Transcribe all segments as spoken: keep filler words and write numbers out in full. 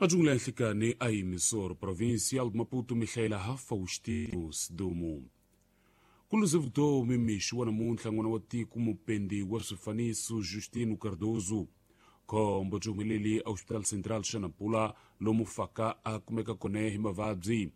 Majungula ya nhlikani a emissor provincial de Maputo Mihaela Faustino Sidumo. Ku vutomi mixo wa namuntlha n'wana wa tiko mupendi wa swifaniso Justino Cardoso. Khombo byi humelele Hospital Central xa Nampula lomu faka a kumeka kona hi mavabyi.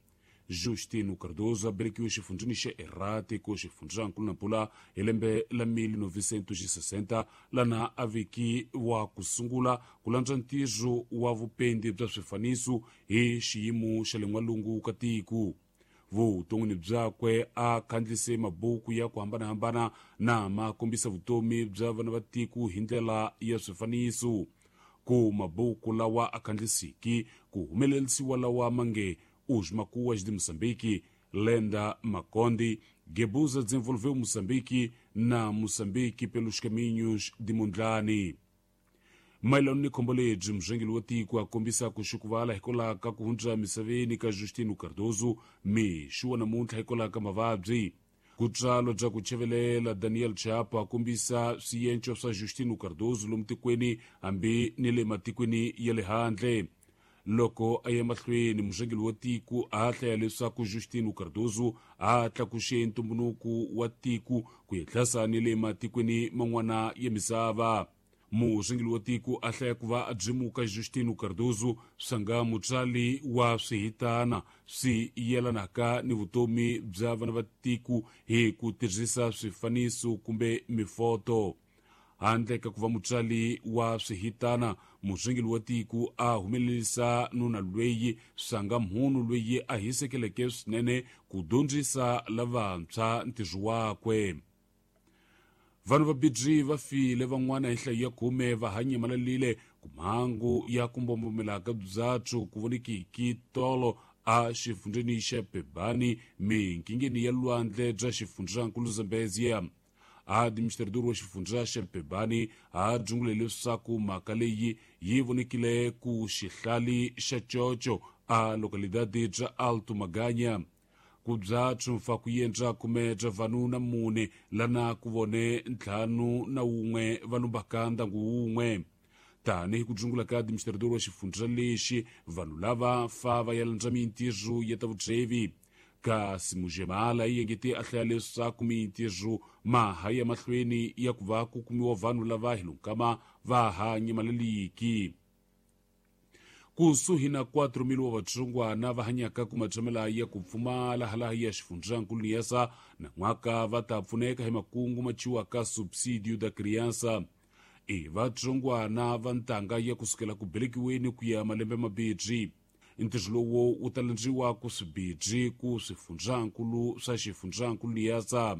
Justino Cardoso a velekiwe xifundzheni xa Erati ku xifundzankulu Nampula hi lembe la mil novecentos e sessenta lana a veki wa ku sungula ku landza ntirho wa vupendi bya swifaniso hi xiyimo xa le n'walungu ka tiko. Vuton'wini byakwe a khandlise mabuku ya ku hambanahambana na ma kombisa vutomi bya vana va tiko hi ndlela ya swifaniso. Ku mabuku lawa a khandlisiki ku humelerisiwa lawa mange Os Macuas de Moçambique, Lenda Maconde, Gebuza desenvolveu Moçambique na Moçambique pelos caminhos de Mondlane. Mayelana ni khombo lebyi murhangeri wa tiko a kombisa ku xukuvala hikwalaho ka ku hundza misaveni ka Justino Cardoso mixo wa namuntlha hikwalaho ka mavabyi. Ku tswalo bya ku chavelela Daniel Chapo a kombisa swienco swa Justino Cardoso lomu tikweni hambi ni le matikweni ya le handle. Loko a ya mahlweni murhangeri wa tiko a hlaya leswaku Justino Cardoso a tlakuxe ntumbuluko wa tiko ku yetlhasa ni le matikweni man'wana ya misava. Murhangeri wa tiko a hlaya ku va a byimuka Justino Cardoso swa mutswali wa swihitana swi yelanaka ni vutomi bya vana va tiko hi ku tirhisa swifaniso kumbe mifoto. Handle ka ku va mutswali wa swihitana, murhangeri wa tiko a humelerisa nuna lweyi swanga mhunu lweyi a hisekeleke swinene ku dyondzisa lavantshwa ntirho wakwe. Vanhu vabirhi va file van'wana hi nhlayo ya khume va hanyamalalile ku mhangu ya ku mbombomela ka byatso ku vonekiki tolo a xifundzheni xa Pebani minkingeni ya lwandle bya xifundzankulu Zambezia. Administrador wa xifundza xa Pebani a dzungule leswaku mhaka leyi yi vonekile ku xihlali xa Chocho a localidade bya Alto Maganya. Ku byatso mfa ku yendza khume bya vanhu na mune lana ku vone ntlhanu na wun'we va lumbaka ndyangu wun'we. Tanihi ku dzungula ka administrador wa xifundza lexi, vanhu lava fa va ya landza mintirho ya ta vutsevi. Kasi Mujemala yi engete a hlaya leswaku mintirho ma ha ya mahlweni ya ku va ku kumiwa vanhu lava hi lunkama va ha nyamaleliki. Kusuhi na quatro mil wa vatsongwana va hanyaka ku matshamela ya ku pfumala halaha ya xifundzankulu Niassa na n'waka va ta pfuneka hi makungu ma ciwaka subsidio da criança. I vatsongwana va ntanga ya kusukela ku belekiweni ku ya malembe mabirhi. Ntirho lowu wu ta landziwa ku swibirhi ku swifundzankulu swa xifundzankulu Niassa.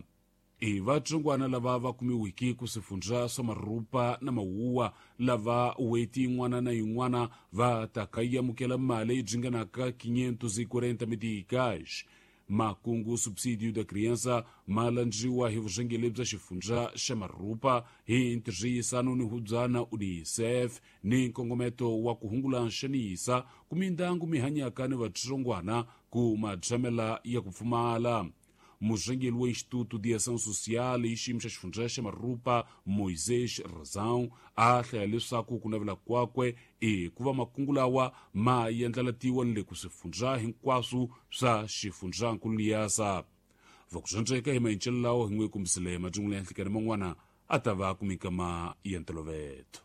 I vatsongwana lava va kumiwiki ku swifundza swa Marupa na Mawuwa lava weti yin'wana na yin'wana va ta ka yi amukela mali leyi ringanaka quinhentos e quarenta meticais. Makungu subsidio da criança ma landziwa hi vurhangeri bya xifundza xa Marupa hi ntirhisano ni hubyana UNICEF ni nkongometo wa ku hungula nxanisa ku mindyangu mi hanyaka ni vatsongwana ku matshamela ya ku pfumala. Murhangeri wa Instituto de Ação Social hi xiyimo xa xifundza xa Marupa Moisés Razão a hlaya leswaku ku navela kwakwe i ku va makungu lawa ma yendlalatiwa ni le ku swifundza hinkwaswo swa xifundzankulu Niassa. Va ku dyondzeka hi mayincelo lawa hi n'we kumbisile majungula ya nhlikani man'wana a ta va ku minkama ya ntolovelo.